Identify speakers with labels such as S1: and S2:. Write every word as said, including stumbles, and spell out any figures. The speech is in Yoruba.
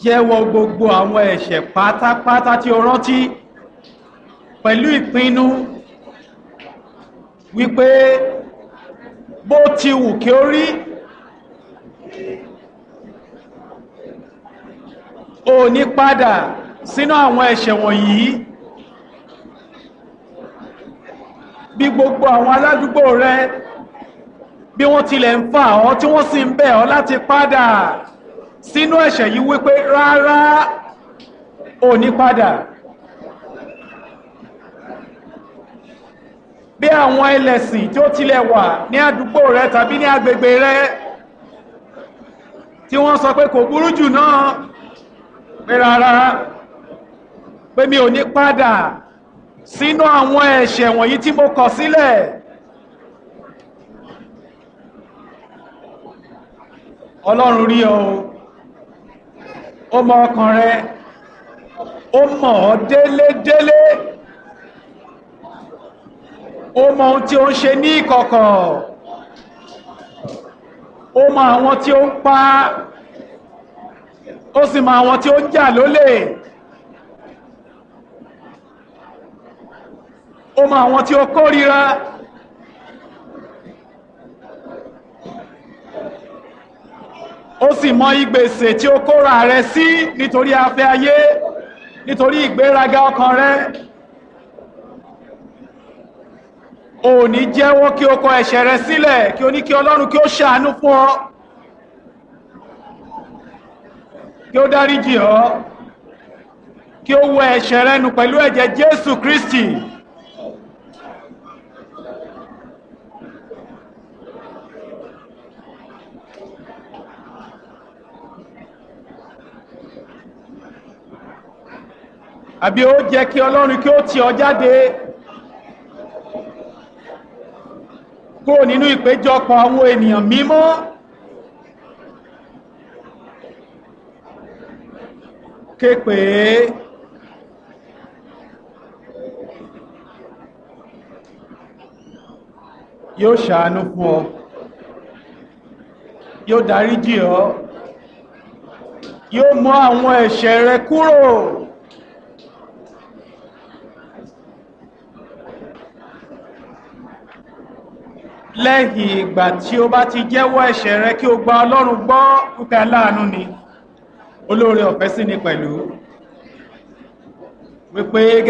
S1: Jẹ́wọ́ gbogbo àwọn ẹ̀ṣẹ̀ pátápátá tí o rántí pẹ̀lú ìpinnu wípé bó ti wù kí ó rí, o ní padà sínú àwọn ẹ̀ṣẹ̀ wọ̀nyí. Bí gbogbo àwọn aládùúgbò rẹ bí wọ́n tilẹ̀ ń fà ọ́ tí wọ́n sì ń bẹ̀ ọ́ láti padà sínú ẹ̀ṣẹ̀ yìí, wípé rárá, ò ní padà. Bí àwọn ẹlẹ́sìn tí ó tilẹ̀ wà ní àdúgbò rẹ tàbí ní agbègbè rẹ tí wọ́n sọ pé kò burú jù náà, pé rárá, pé mi ò ní padà sínú àwọn ẹ̀ṣẹ̀ wọ̀nyí tí mo kọ̀ sílẹ̀. Ọlọ́run rí ọ, ó mọ ọkàn rẹ, ó mọ̀ ọ́ délédélé, ó mọ ohun tí ó ń ṣe ní ìkọ̀kọ̀, ó mọ àwọn tí ó ń pa, ó sì mọ àwọn tí ó ń jà lólè, ó mọ àwọn tí ó kórìíra. Ó sì mọ ìgbèsè tí ó kóra rẹ sí nítorí afẹ́ ayé, nítorí ìgbéraga ọkàn rẹ. Ò ní jẹ́wọ́ kí o kọ ẹ̀ṣẹ̀ rẹ sílẹ̀, kí o ní kí Ọlọ́run kí ó ṣàánú fún ọ, kí ó dáríjì ọ́, kí ó wẹ ẹ̀ṣẹ̀ rẹ nù pẹ̀lú ẹ̀jẹ̀ Jésù Kristi. Àbí ó jẹ́ kí Ọlọ́run kí ó tì ọ́ jáde kúrò nínú ìpéjọpọ̀ àwọn ènìyàn mímọ́? Ké pè é. Yóò ṣàánú fún ọ, yóò dáríjì ọ́, yóò mú àwọn ẹ̀ṣẹ̀ rẹ kúrò. Lẹ́yìn ìgbà tí o bá ti jẹ́wọ́ ẹ̀ṣẹ̀ rẹ, kí o gba Ọlọ́run gbọ́ wípé aláàánú ni, olóore ọ̀fẹ́ sí ni pẹ̀lú, wípé gẹ́gẹ́